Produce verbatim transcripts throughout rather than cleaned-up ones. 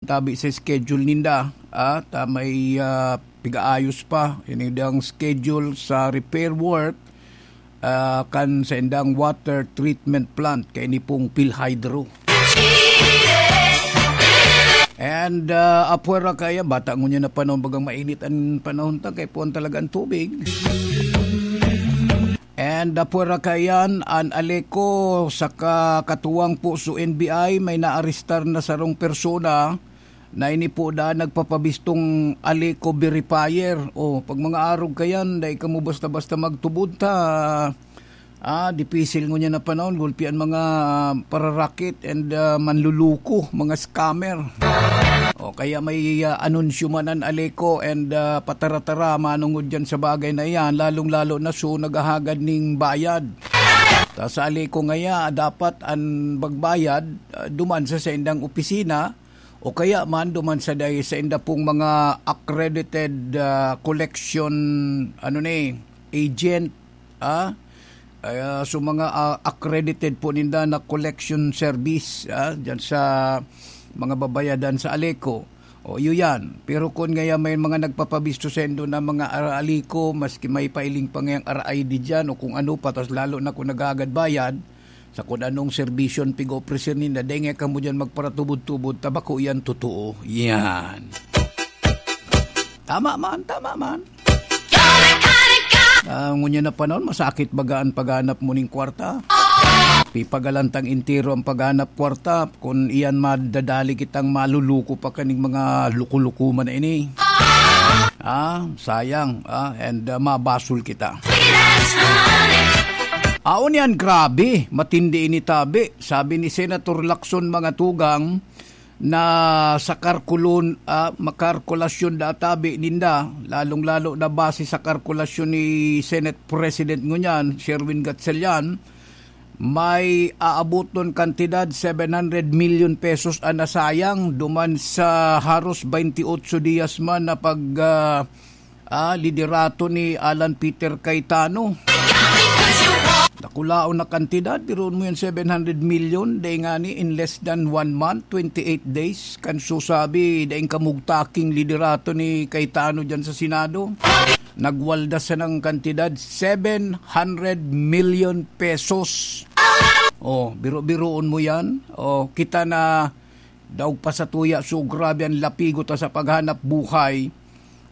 tabi sa schedule ninda, ah, ta may, ah, pigaayos pa ini dang schedule sa repair work, ah, kan sa indang water treatment plant kay ni pong PhilHydro. And, ah, apwera kaya, bata ngunyan na panahon, bagang mainit ang panahon ta, kay puwan talaga ang tubig. And, ah, pwera kayan, an Aleco saka katuwang po su N B I, may naarestar na sarong persona na ini po da nagpapabistong Aleco verifier. O, pag mga arog kayan, dai kamo basta-basta magtubod ta. Ah, dipisil ngunyan na panahon, gulpi an mga pararakit and, ah, manluluko, mga scammer. O, kaya may, ah, anunsyo man an Aleco and, ah, patara-tara, manungod dyan sa bagay na iyan, lalong-lalo na su naghahagad ning bayad. Ta sa Aleco ngaya, dapat an magbayad, ah, duman sa saindang opisina, o kaya man duman sa day, sainda pong mga accredited, ah, collection, ano ni, agent, ah, ah, so mga, ah, accredited po ninda na collection service, ah, dyan sa mga babayadan sa Aleco. O, iyo yan. Pero kun ngaya may mga nagpapabisto saindo na mga ara-, Aleco, maski may pailing pa ngayang R I D dyan o kung ano pa, tas lalo na kung naghahagad bayad, sa kun anong serbisyon pig-opreser ninda, dai ngaya kamo dyan magparatubod-tubod, ta bako yan totoo. Yan. Tama man, tama man. Ah, ngunyan na panahon, masakit baga an paghanap mo ning kwarta. Pipagalantang entero ang paghanap kwarta. Kun iyan madadali kitang maluluko pa kaning mga luko-luko man na ini. Ah, sayang. Ah, and, ah, mabasol kita. Aon yan, grabe. Matindi ini tabi. Sabi ni Senator Lacson, mga tugang, na sa karkulon-, ah, makarkulasyon da tabi ninda, lalong-lalo na base sa karkulasyon ni Senate President ngunyan, Sherwin Gatchalian, may aaboton kantidad seven hundred milyon pesos an nasayang duman sa haros twenty-eight dias man na pag, ah, ah, liderato ni Alan Peter Cayetano. Dakulaon na kantidad, biruon mo yan, seven hundred milyon, dai ngani in less than one month, twenty-eight days, kan susabi, daing kamugtaking liderato ni Cayetano dyan sa Senado. Nagwaldas siya ng kantidad, seven hundred million pesos. Oh, biro-biroon mo yan. Oh, kita na daog pa sa tuya, so grabe ang lapigot ta sa paghanap buhay.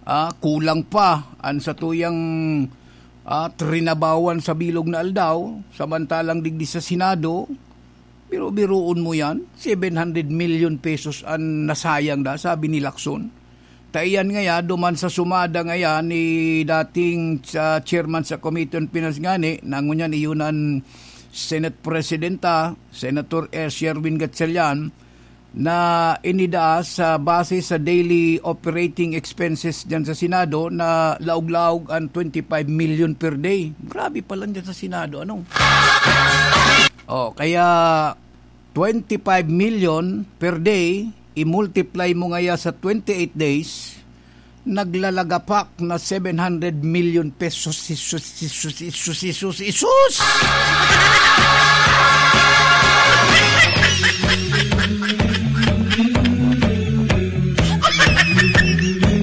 Ah, kulang pa an satuyang, ah, trinabawan sa bilog na aldaw, samantalang digdi sa Senado, biro-biroon mo yan, seven hundred million pesos an nasayang da, sabi ni Lacson. Ta iyan ngaya, duman sa sumada ngaya ni dating sa chairman sa Committee on Finance ngani, na ngunyan iyon an Senate Presidenta, Senator Sherwin Gatchalian, na inida sa base sa daily operating expenses diyan sa Senado na laog-laog ang twenty-five million per day. Grabe pa lang diyan sa Senado, ano? Oh, kaya twenty-five million per day, i-multiply mo ngaya sa twenty-eight days, naglalagapak na seven hundred million pesos. Jesus, Jesus, Jesus, Jesus, Jesus!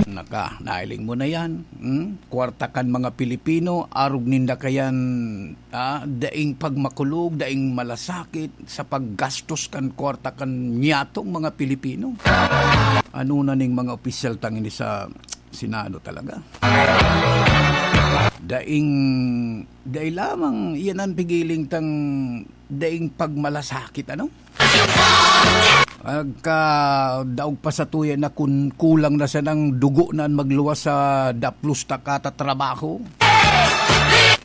Naka, nailing mo na yan. Hmm? Kwarta kan mga Pilipino, arog ninda kayan, ah, daing pagmakulog, daing malasakit sa paggastos kan kwarta kan nyatong mga Pilipino. Ano na ning mga opisyal tang ini sa Senado talaga? Daing, dai lamang iyan an pigiling tang daing pagmalasakit, ano? Agka daog pa sa tuya na kun kulang na sanang dugo na an magluwas sa daplos ta katatrabaho.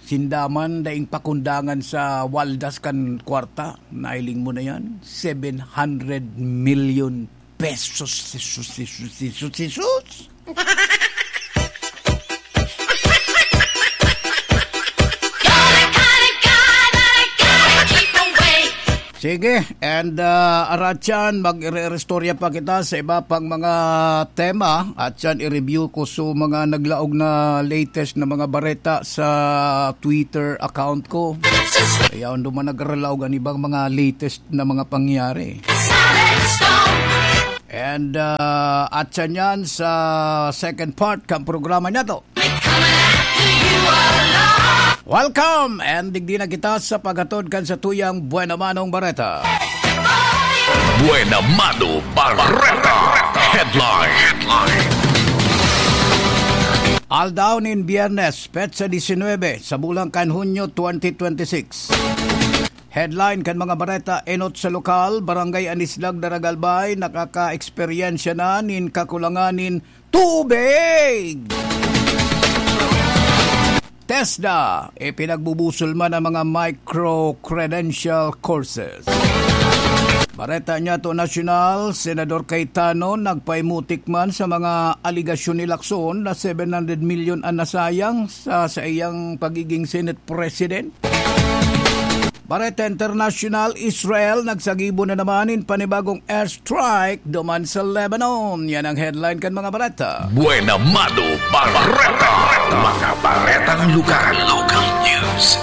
Sinda man daing pakundangan sa waldas kan kwarta, nailing mo na yan, seven hundred million pesos. Jesus, Jesus, Jesus, Jesus. Sige, and, ah, aratyan, mag-ire-istorya pa kita sa iba pang mga tema, at yan, i-review ko so mga naglaog na latest na mga bareta sa Twitter account ko. Kaya duman nagralaog an ibang mga latest na mga pangyayari. And uh, at sa niyan sa second part kan programa niya to. Welcome! And digdi na kita sa paghatod kan sa tuyang Buena Manong Bareta. Buena Mano Bareta. Headline. Aldaw nin Biyernes, petsa disinwebe, sa bulan kan Hunyo twenty twenty-six. Headline kan mga bareta: enot sa lokal, Barangay Anislag, Daragalbay, nakaka-eksperyensya na nin kakulangan nin tubig. TESDA, ipinagbubusol man ang mga micro-credential courses. Bareta niya to nasyonal, Senador Cayetano nagpaimutik man sa mga aligasyon ni Lacson na seven hundred million ang nasayang sa, sa iyang pagiging Senate President. Bareta International: Israel nagsagibo na naman nin panibagong airstrike duman sa Lebanon. Yan ang headline kan mga bareta. Buena Mano Bareta. Mga baretang lugar. Local news.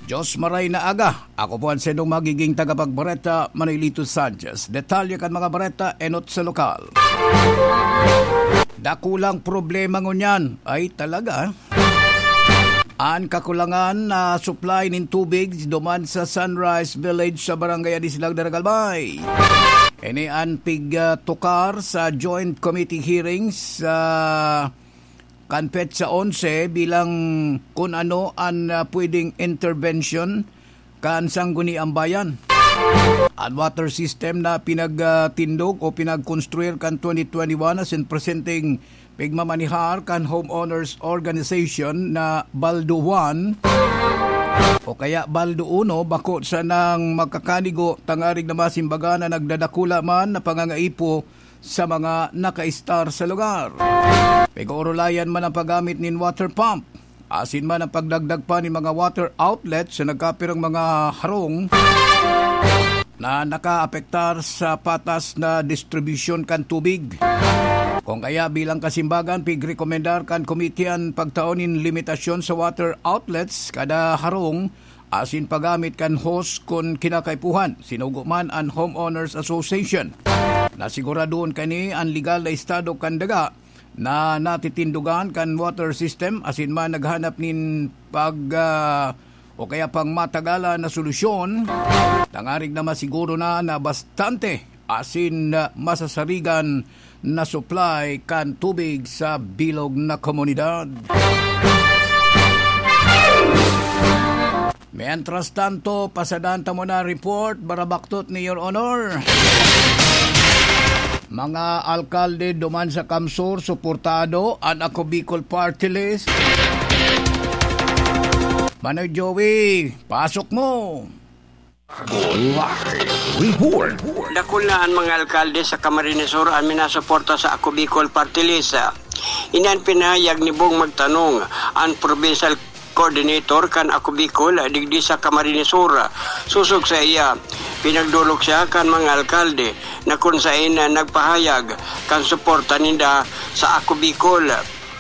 Diyos maray na aga. Ako po ang sendong magiging tagapagbareta, Manilito Sanchez. Detalye kan mga bareta, enot sa lokal. Dakulang problema ngunyan. Ay, talaga. An kakulangan na supply nin tubig duman sa Sunrise Village sa Barangay Anislag, Daragalbay. Ini an pig, ah, tukar sa Joint Committee hearings sa kan petsa onse bilang kun ano an, ah, pwedeng intervention kan Sangguniang Bayan. An water system na pinagtindog o pinagkonstruir kan twenty twenty-one asin presenteng pigmamanihar kan Homeowners Organization na Baldo one o kaya Baldo uno, bako sanang magkakanigo tangarig na masimbagan na nagdadakula man na pangangaipo sa mga nakaistar sa lugar. Pig-oorolayan man ang paggamit nin water pump, asin man ang pagdagdag pa nin mga water outlet sa nagkapirang mga harong na nakaapektar sa patas na distribusyon kan tubig. Kung kaya, bilang kasimbagan, pigrekomendar kan komite an pagtao nin limitasyon sa water outlets kada harong asin paggamit kan hose kun kinakaipuhan, sinugo man an Homeowners Association. Nasiguradoon kani an legal na estado kan daga na natitindogan kan water system asin man naghanap nin pag, ah, o kaya pang matagalan na solusyon, tangarig na masiguro na na bastante asin, ah, masasarigan na supply kan tubig sa bilog na komunidad. Mientras tanto, pasadan ta muna report, barabaktot ni Your Honor. Mga alkalde duman sa Kamsur, suportado an Ako Bicol Party List. Manoy Joey, pasok mo! Ako Live Report. Dakul na an mga alkalde sa Camarines Sur an minasuporta sa Ako Bicol Party List. Ini an pinahayag ni Bong Magtanong, an provincial coordinator kan Ako Bicol digdi sa Camarines Sur. Sosog saiya, pinagdolok siya kan mga alkalde na kun saen na nagpahayag kan suporta ninda sa Ako Bicol.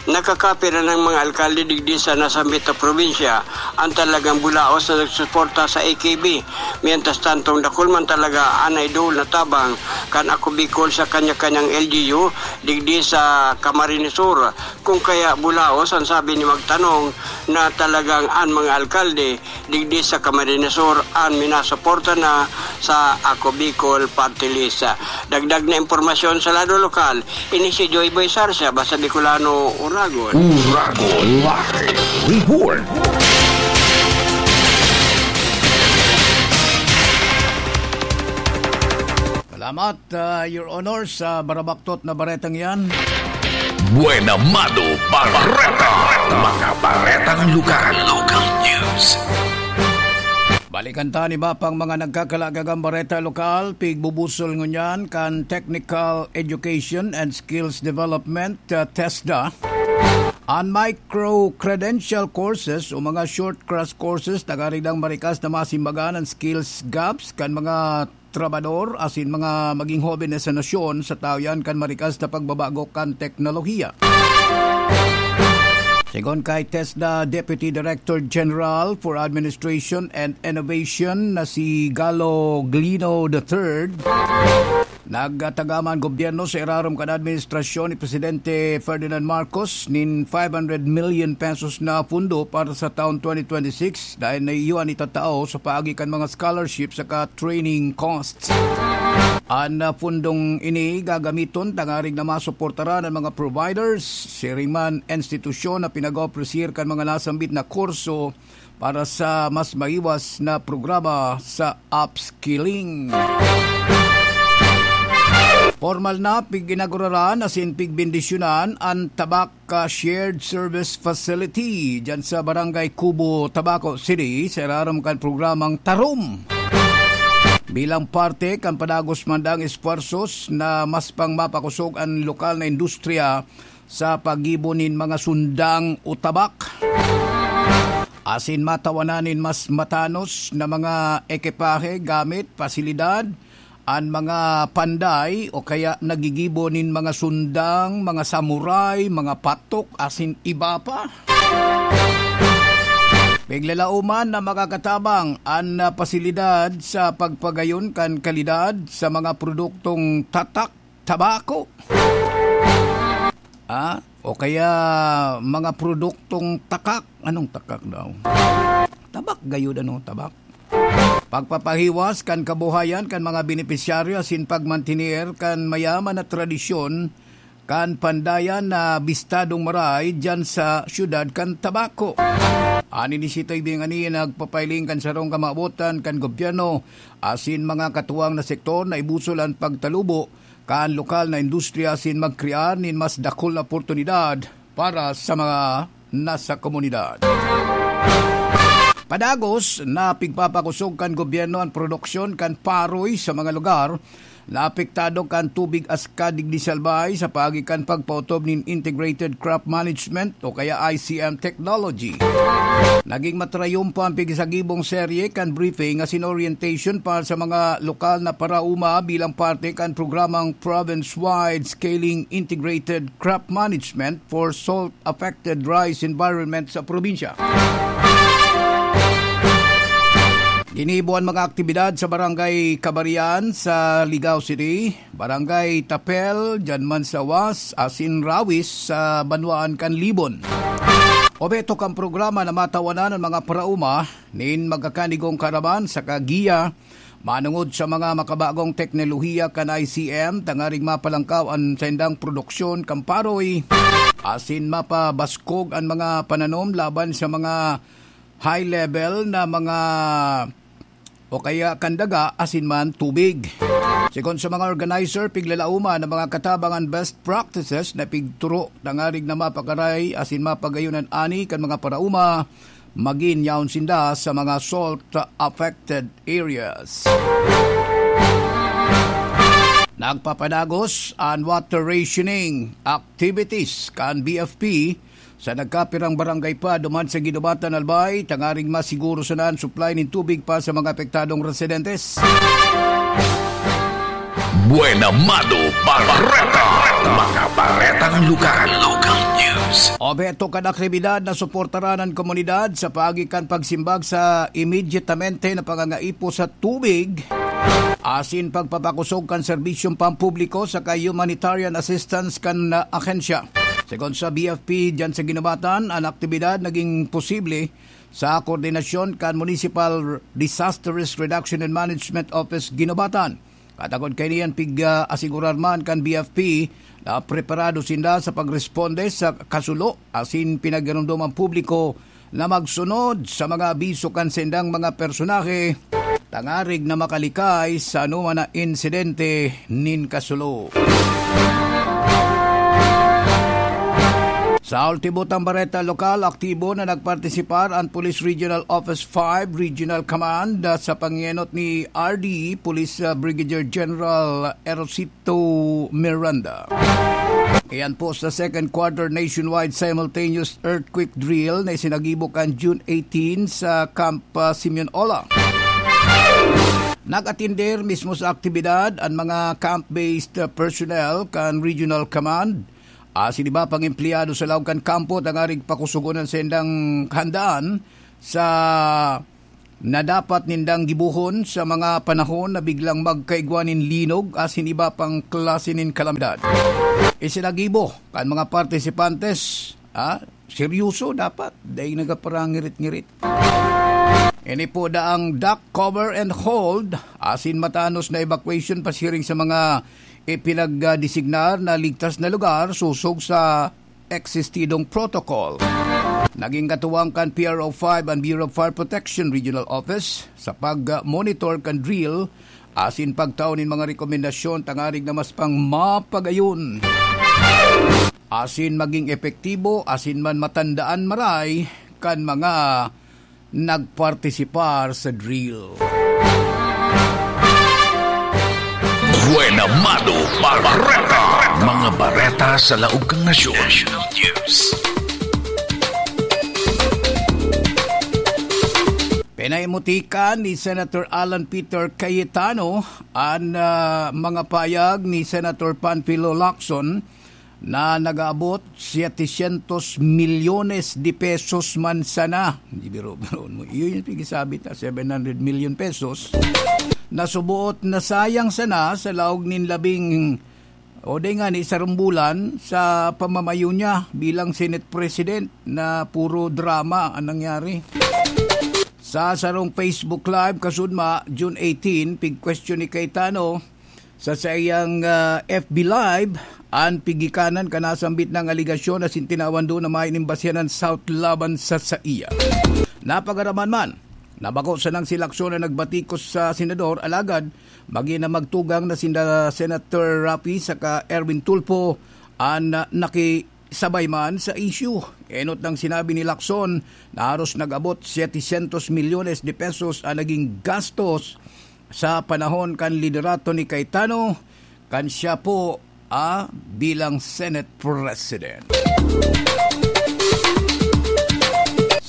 Nakakapira nang mga alkalde digdi sa nasambit na probinsya an talagang bulaos na nagsusuporta sa A K B. Mientras tantong dakul man talaga an naidol na tabang kan Ako Bicol sa kanya-kanyang L G U digdi sa Camarines Sur. Kung kaya bulaos an sabi ni Magtanong na talagang an mga alkalde digdi sa Camarines Sur an minasuporta na sa Ako Bicol Party List. Dagdag na impormasyon sa lado lokal, ini si Joy Boy Sarsia, basta Bicolano, Uragon. Uragon Live Report. Salamat, ah, Your Honor, sa barabaktot na baretang yan. Buena Mano Bareta. Mga baretang lugar. Local news. Balikan ta an iba pang mga nagkakalagagang bareta lokal, pigbubusol ngunyan kan Technical Education and Skills Development, ah, TESDA. An micro-credential courses o mga short crash courses, tangarig marikas na masimbagan an skills gaps kan mga trabador asin mga maging hoben na sa nasyon sa taw yan kan marikas na pagbabago kan teknolohiya. Segun kay TESDA Deputy Director General for Administration and Innovation na si Galo Glino the third, Nagtagaman gobyerno sa irarom kan administrasyon ni Presidente Ferdinand Marcos nin five hundred million pesos na pundo para sa taon twenty twenty-six, dahil na iyan itatao sa paagi kan mga scholarship saka training costs. An, ah, pundong ini gagamiton tangarig na masuportaran an mga providers, siring man institusyon na pinag-opresir kan mga nasambit na kurso para sa mas maiwas na programa sa upskilling. Formal na pig-inauguraran asin pigbendisyonan an Tabak Shared Service Facility diyan sa Barangay Cubo, Tabaco City, sa irarom kan programang Tarom. Bilang parte kan padagos man daang esfuerzos na mas pang mapakosog an lokal na industriya sa paggibo nin mga sundang o tabak, asin matawanan nin mas matanos na mga ekipahe, gamit, pasilidad, an mga panday o kaya nagigibo nin mga sundang, mga samurai, mga patok, asin iba pa. Piglalauman na makakatabang an, ah, pasilidad sa pagpagayon kan kalidad sa mga produktong tatak tabako. Ah, o kaya mga produktong takak. Anong takak daw? Tabak gayud, ano, tabak. Pagpapahiwas kan kabuhayan kan mga benepisyaryo asin pagmantener kan mayaman na tradisyon kan pandayan na bistadong maray diyan sa siyudad kan Tabaco. An inisiyatiba ini nagpapailing kan sarong kamawotan kan gobyerno asin mga katuwang na sektor na ibusol an pagtalubo kan lokal na industriya asin magkrear nin mas dakul na oportunidad para sa mga nasa komunidad. Padagos na pigpapakosog kan gobyerno an produksyon kan paroy sa mga lugar na apektado kan tubig aska digdi sa Albay sa paagi kan pagpaotob nin Integrated Crop Management o kaya I C M technology. Naging matrayumpo an pigsagibong serye kan briefing asin orientation para sa mga lokal na paraoma bilang parte kan programang Province-Wide Scaling Integrated Crop Management for Salt Affected Rice Environment sa probinsya. Ginibo an mga aktibidad sa Barangay Kabarian sa Ligao City, Barangay Tapel, diyan man sa Was, asin Rawis sa banwaan kan Libon. Obheto kan programa na matawanan an mga paraoma nin magkakanigong kaaraman saka giya manongod sa mga makabagong teknolohiya kan I C M, tangaring mapalangkaw an saindang produksyon kan paroy, asin mapabaskog an mga pananom laban sa mga high level na mga o kaya kan daga asin man tubig. Sigon sa mga organizer, piglalauman na mga katabangan best practices na pigturo tangarig na mapakaray asin mapagayon an ani kan mga paraoma, magin yaon sinda sa mga salt-affected areas. Nagpapadagos an water rationing activities kan B F P sa nagkapirang barangay pa duman sa Guinobatan, Albay, tangaring masiguro sana an supply nin tubig pa sa mga apektadong residentes. Buena Mano Bareta. Mga baretang lugar. Local news. Obheto kan aktibidad na suportaran an komunidad sa paagi kan pagsimbag sa immediatamente na pangangaipo sa tubig asin pagpapakosog kan serbisyong pampubliko saka humanitarian assistance kan, ah, ahensya. Sigon sa B F P diyan sa Guinobatan, an aktibidad naging posible sa koordinasyon kan Municipal Disaster Risk Reduction and Management Office Guinobatan. Katagod kaini an pig-, ah, asigurar man kan B F P na preparado sinda sa pagresponde sa kasulo asin pinagaromdom an publiko na magsunod sa mga abiso kan saindang mga personahe, tangarig na makalikay sa anoman na insidente nin kasulo. Sa ultimo tang bareta lokal, aktibo na nagpartisipar an Police Regional Office five Regional Command, ah, sa pangenot ni R D Police, ah, Brigadier General Erosito Miranda. Iyan po sa second quarter nationwide simultaneous earthquake drill na isinagibo kan June eighteen sa Camp, ah, Simeon Ola. Nag-atender mismo sa aktibidad an mga camp-based, ah, personnel kan Regional Command, asin iba pang empleyado sa laog kan kampo tangarig pakusugon an saindang kahandaan sa na dapat nindang gibohon sa mga panahon na biglang magkaigwa nin linog asin iba pang klase nin kalamidad. Isinagibo kan mga partisipantes, ah, seryoso dapat, dai nagaparangirit-ngirit. Ini po daang duck cover and hold, asin matanos na evacuation pasiring sa mga ipinagdesignar na ligtas na lugar sosog sa existidong protocol. Naging katuwang kan P R O five an Bureau of Fire Protection Regional Office sa pag-monitor kan drill asin pagtao nin mga rekomendasyon tangarig na mas pang mapagayon asin maging epektibo asin man matandaan maray kan mga nagpartisipar sa drill. Buena Mano Bareta. Mga bareta sa laog kan nasyon. National News. Pinaimutikan ni Senator Alan Peter Cayetano an, ah, mga payag ni Senator Panfilo Lacson na nag-aabot setecientos milyones de pesos man sana. Di biro-biroon mo. Iyo yung pigisabi ta, seven hundred million pesos. Nasuboot na sayang sana sa laog nin labing o di nga ni sarong bulan sa pamamayo niya bilang Senate President na puro drama ang nangyari. Sa sarong Facebook Live, kasudma, June eighteen, pig-question ni Cayetano, sa saiyang, ah, F B Live, an pigikanan kan nasambit na aligasyon asin tinawan duon na mayo nin basyanan sa laban sa saiya. Napagaraman man na bako sanang si Lacson na nagbatikos sa senador, alagad magin na magtugang na sinda Senator Raffy saka Erwin Tulfo an, ah, nakisabay man sa issue. Enot nang sinabi ni Lacson na haros nag-abot setecientos milyones de pesos an naging gastos sa panahon kan liderato ni Cayetano, kan siya po, ah, bilang Senate President.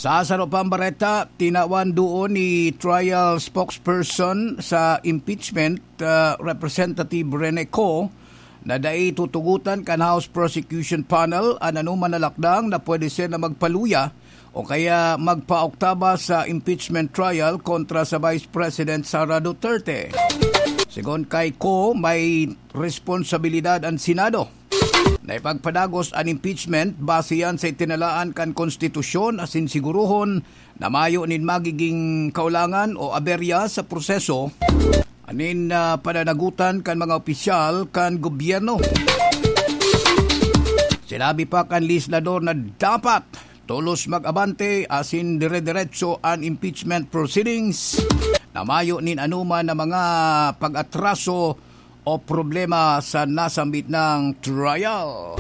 Sa saro pang bareta, tinawan duon ni trial spokesperson sa impeachment, ah, Representative Rene Co, na dai tutugotan kan House Prosecution Panel an anoman na lakdang na pwede sana magpaluya o kaya magpaoktaba sa impeachment trial kontra sa Vice President Sara Duterte. Sigon kay Co, may responsibilidad an Senado na ipagpadagos an impeachment base yan sa itinalaan kan konstitusyon asin sigurohon na mayo nin magiging kaulangan o aberya sa proseso anin, ah, pananagutan kan mga opisyal kan gobyerno. Sinabi pa kan legislador na dapat tolos mag-abante asin dire-diretso an impeachment proceedings na mayo nin anoman na mga pag-atraso o problema sa nasambit na trial.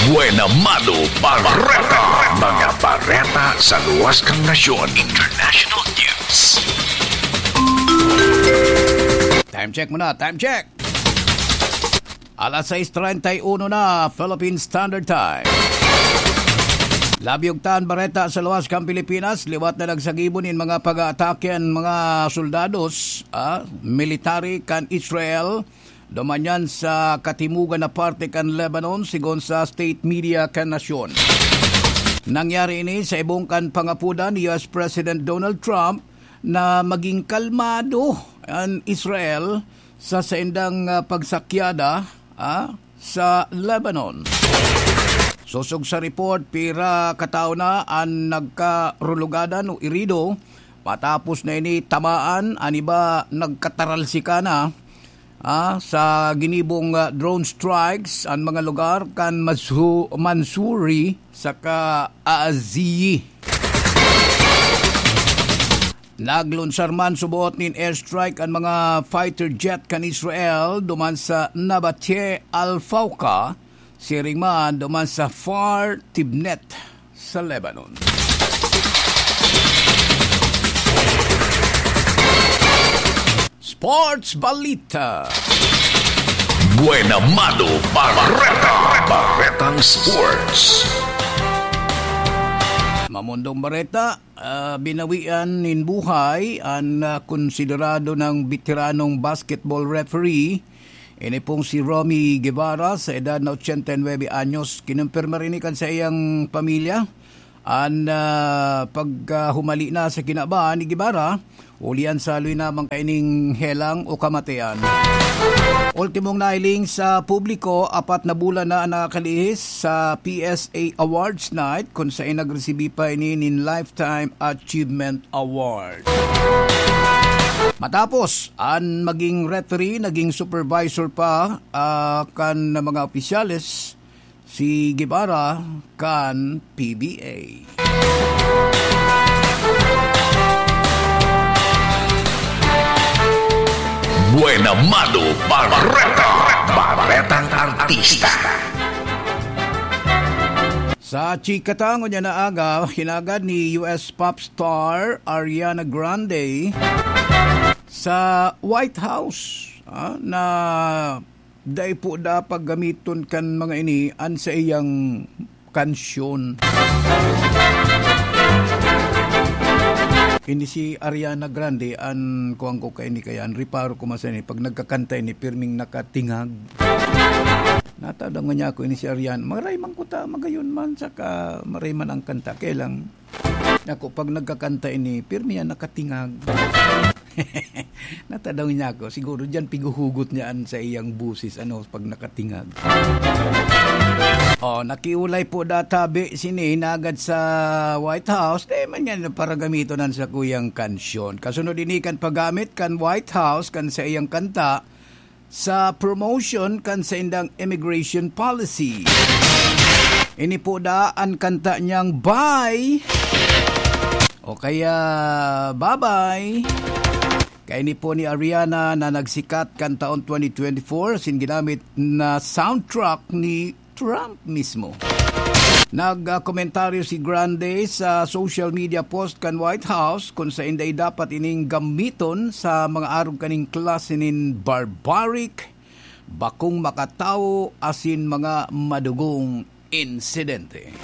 Buena Mano Bareta. Mga bareta sa luwas kan nasyon. International News. Time check muna, time check. Alas sais treinta y uno na, Philippine Standard Time. Labi og tan bareta sa luwas kan Pilipinas, liwat na nagsagibo nin mga pag-aatake an mga soldados, ah, military kan Israel, duman yan sa katimugan na parte kan Lebanon, sigon sa state media kan nasyon. Nangyari ini sa ibong kan pangapodan ni U S President Donald Trump na maging kalmado an Israel sa saindang, ah, pagsakyada, ah, sa Lebanon. Sosog sa report, pira ka tawo na an nagkarulugadan o irido matapos na ini tamaan, an iba nagkataralsika na, ah, sa ginibong, ah, drone strikes an mga lugar kan Masu-, Mansouri saka Aziyi. Naglunsar man suboot nin airstrike an mga fighter jet kan Israel duman sa Nabateh Al-Fauqa, siring man duman sa Kfar Tibnit sa Lebanon. Sports Balita. Buena Mano Bareta. Baretang Sports. Mamundong bareta, ah, binawian nin buhay an, ah, konsiderado ng beteranong basketball referee Ini pong si Romy Guevara, sa edad na ochenta y nuebe anyos, kinumpirma rin kan sa iyang pamilya an, ah, pagkahumali na sa kinaban ni Guevara, huli an saloy na man kaining helang o kamatayan. Ultimong nahiling sa publiko, apat na bulan na an nakalihis sa P S A Awards Night, kung saan nagresibi pa ini nin Lifetime Achievement Award. Matapos an maging referee, naging supervisor pa, ah, kan mga opisyales si Guevara kan P B A. Buena Mano Barreta, Barretang Artista. Sa chika ta ngunyan na aga, hinagad ni U S pop star Ariana Grande sa White House, ah, na dai po dapat gamiton kan mga ini an saiyang kansyon. Ini si Ariana Grande, an kuwan ko kaini kaya, an reparo ko man sa ini, pag nagkakanta ini, pirming nakatingag. Natadaw ngunyan ako, ini si Ariana. Maray man kuta, magayon man, saka maray man ang kanta. Kaya lang, ako, pag nagkakanta ini, pirmi yan nakatingag. Natadaw ngunyan ako. Siguro diyan pighuhugot niya an sa iyang busis, ano, pag nakatingag. Oh, nakiulay po databi sini nagad sa White House. Di man yan paragamiton an sa kuyang kansyon. Kasunod ini kan paggamit kan White House kan sa iyang kanta, sa promotion kan saindang immigration policy. Ini po da an kanta niyang Bye o kaya Bye-bye. Kaini po ni Ariana na nagsikat kan taon twenty twenty-four, sin ginamit na soundtrack ni Trump mismo. Nagkomentaryo si Grande sa social media post kan White House kung saen dai dapat ining gamiton sa mga arog kaning klase nin barbaric, bakong makatawo asin mga madugong insidente.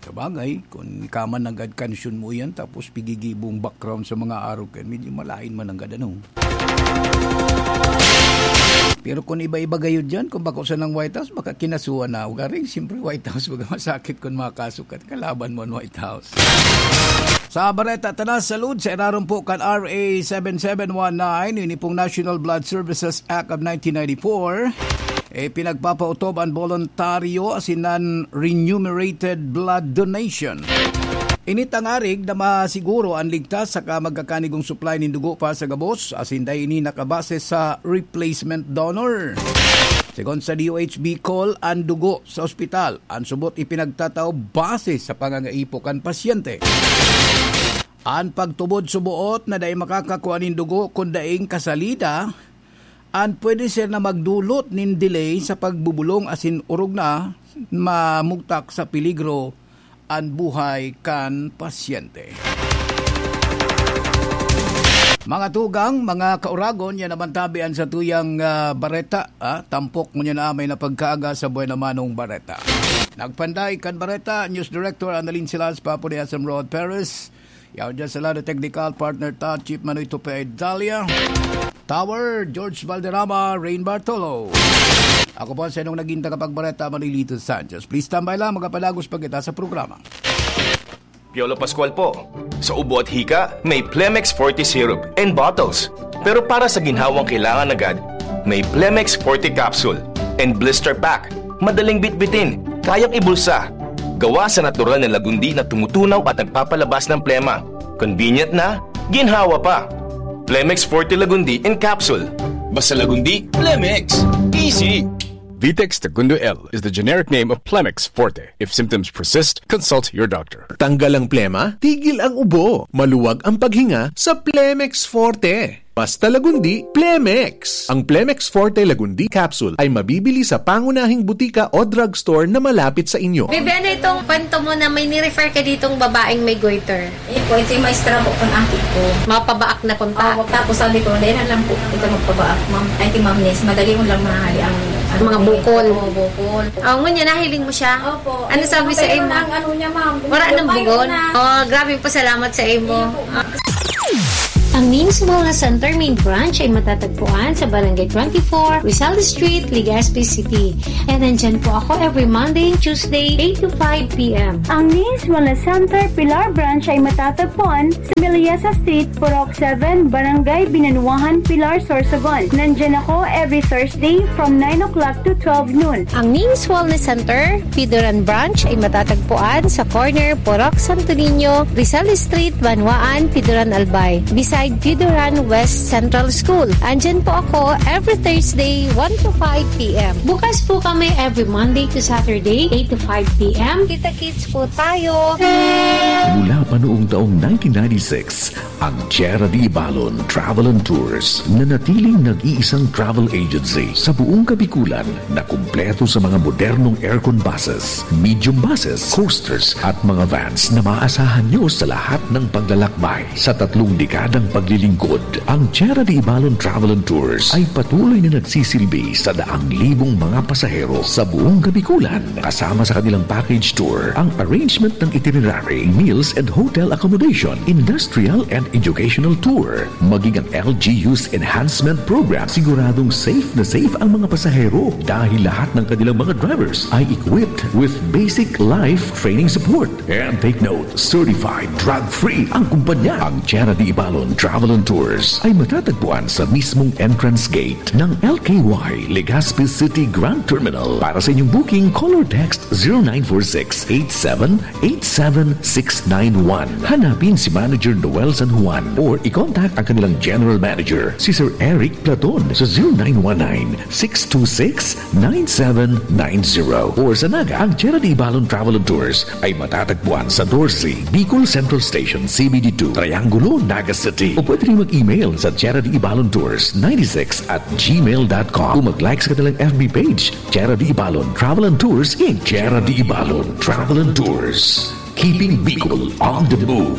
Sabagay, kun ika man nanggad kansyon mo iyan, tapos pigigibong background sa mga arog kan, medyo malain man nanggad, ano? Pero kun iba-iba gayud diyan, kun bako sanang White House, baka kinasuhan na ako. Garing, siyempre, White House, baga masakit kun makasukat kalaban mo an White House. Sa bareta ta na, salud sa irarom po kan R A seven seven one nine, ini pong National Blood Services Act of nineteen ninety-four, eh, pinagpapautob an boluntaryo asin an remunerated blood donation. Ini tangarig na masiguro an ligtas saka magkakanigong supply nin dugo para sa gabos, asin dai ini nakabase sa replacement donor. Segun sa D O H Bicol, an dugo sa ospital, an subot ipinagtatao base sa pangangaipo kan pasyente. An pagtubod suboot na dai makakakua nin dugo kun daing kasalida, an pwede siya na magdulot nin delay sa pagbubulong asin orog na mamugtak sa peligro an buhay kan pasyente. Mga tugang, mga kauragon, yan naman tabi an satuyang, ah, bareta, ah, tampok ngunyan na may napagkaaga sa Buena Manong Bareta. Nagpanday kan bareta, News Director Annalyn Silas, Papo de Asam Rod Perez. Yaw dyan sa lado technical partner ta, Chief Manoy Tupe Dalia. Tower, George Valderrama, Rain Bartolo. Ako po ang sainong naging tagapagbareta, Manolito Sanchez. Please standby lang, magpapadagos pa kita sa programa. Piolo Pascual po. Sa ubo at hika, may Plemex Forte Syrup and bottles. Pero para sa ginhawang kailangan agad, may Plemex Forte Capsule and Blister Pack. Madaling bitbitin, kayang ibulsa. Gawa sa natural na lagundi na tumutunaw at nagpapalabas ng plema. Convenient na, ginhawa pa. Plemex Forte Lagundi in Capsule. Basta Lagundi, Plemex. Easy! Vitex Tagundo L is the generic name of Plemex Forte. If symptoms persist, consult your doctor. Tanggal ang plema, tigil ang ubo. Maluwag ang paghinga sa Plemex Forte. Basta Lagundi, Plemex. Ang Plemex Forte Lagundi Capsule ay mabibili sa pangunahing butika o drugstore na malapit sa inyo. Bebe, ano itong kwento mo na may ni-refer ka ditong babaeng may goiter? Eh po, ito yung maestra po kung aki ko. Mapabaak na punta? Opo, tapos sabi ko, "Dahil na lang po, ito magpabaak, ma'am." Ay, ti Ma'am Nes, madali mo lang mahali ang, ano, Mga eh, bukol. Oo, bukol. Oh, ngunyan, nahiling mo siya? Opo. Ano sabi sa imo? Ang ano niya, ma'am. Wala nang bugon? Oh, grabe po, salamat sa imo. Hindi po, ma'am. Ang Ning's Wellness Center main branch ay matatagpuan sa Barangay twenty-four, Rizal Street, Legazpi City. And nandyan po ako every Monday and Tuesday, eight to five p m. Ang Ning's Wellness Center Pilar Branch ay matatagpuan sa Meliesa Street, Purok seven, Barangay Binanuahan, Pilar, Sorsogon. Nandyan ako every Thursday from nine o'clock to twelve noon. Ang Ning's Wellness Center, Pidoran Branch ay matatagpuan sa corner Purok Santo Niño, Rizal Street, Banwaan, Pidoran, Albay, beside Pidoran West Central School. Andyan po ako every Thursday, one to five p m. Bukas po kami every Monday to Saturday, eight to five p m. Kita-kits po tayo! Mula pa noong taong nineteen ninety-six, ang Tierra de Ibalon Travel and Tours, nanatiling nag-iisang travel agency sa buong Kabikulan na kumpleto sa mga modernong aircon buses, medium buses, coasters at mga vans na maaasahan nyo sa lahat ng paglalakbay. Sa tatlong dekadang paglilingkod, ang Tierra de Ibalon Travel and Tours ay patuloy na nagsisilbi sa daang libong mga pasahero sa buong Kabikulan. Kasama sa kanilang package tour ang arrangement ng itinerary, meals and hotel accommodation, industrial and educational tour, maging ang L G U's enhancement program. Siguradong safe na safe ang mga pasahero dahil lahat ng kanilang mga drivers ay equipped with basic life training support. And take note, certified drug-free ang kumpanya. Ang Tierra de Ibalon Travel and Tours ay matatagpuan sa mismong entrance gate ng L K Y Legazpi City Grand Terminal. Para sa inyong booking, call or text zero nine four six eight seven eight seven six nine one. Hanapin si Manager Noel San Juan or i-contact ang kanilang General Manager, si Sir Eric Platon, sa zero nine one nine six two six nine seven nine zero. Or sa Naga, ang Tierra de Ibalon Travel and Tours ay matatagpuan sa Dorsey, Bicol Central Station, C B D two, Triangulo, Naga City. O pwede rin mag-email sa Tierra de Ibalon Tours ninety-six at gmail dot com o mag-like sa kanilang F B page, Tierra de Ibalon Travel and Tours, Inc. Tierra de Ibalon Travel and Tours. Keeping Bicol on the move.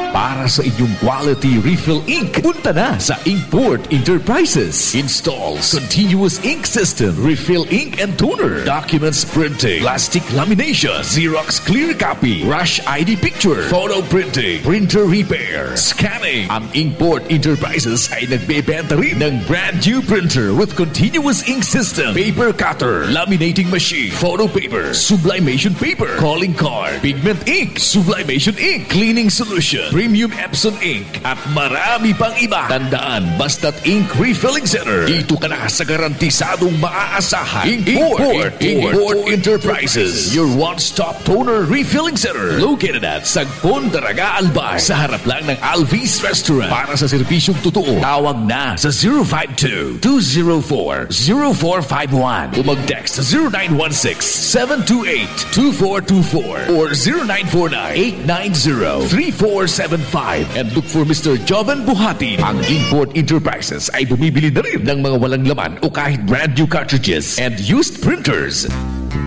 Para sa inyong quality refill ink, punta na sa Inkport Enterprises. Installs continuous ink system, refill ink and toner, documents printing, plastic lamination, Xerox clear copy, rush I D picture, photo printing, printer repair, scanning. Ang Inkport Enterprises ay nagbebenta rin ng brand new printer with continuous ink system, paper cutter, laminating machine, photo paper, sublimation paper, calling card, pigment ink, sublimation ink, cleaning solution, premium Epson ink, at marami pang iba. Tandaan, basta't ink refilling center, dito ka na sa garantisadong maaasahan. Inkport, Inkport Enterprises, your one-stop toner refilling center, located at Sagpon, Daraga, Albay, sa harap lang ng Alvis Restaurant. Para sa serbisyong totoo, tawag na sa zero five two, two zero four, zero four five one o mag-text sa zero nine one six, seven two eight, two four two four or zero nine four nine, eight nine zero, three four seven five, and look for Mister Joven Buhatin. Ang Inkport Enterprises ay bumibili na rin ng mga walang laman o kahit brand new cartridges and used printers.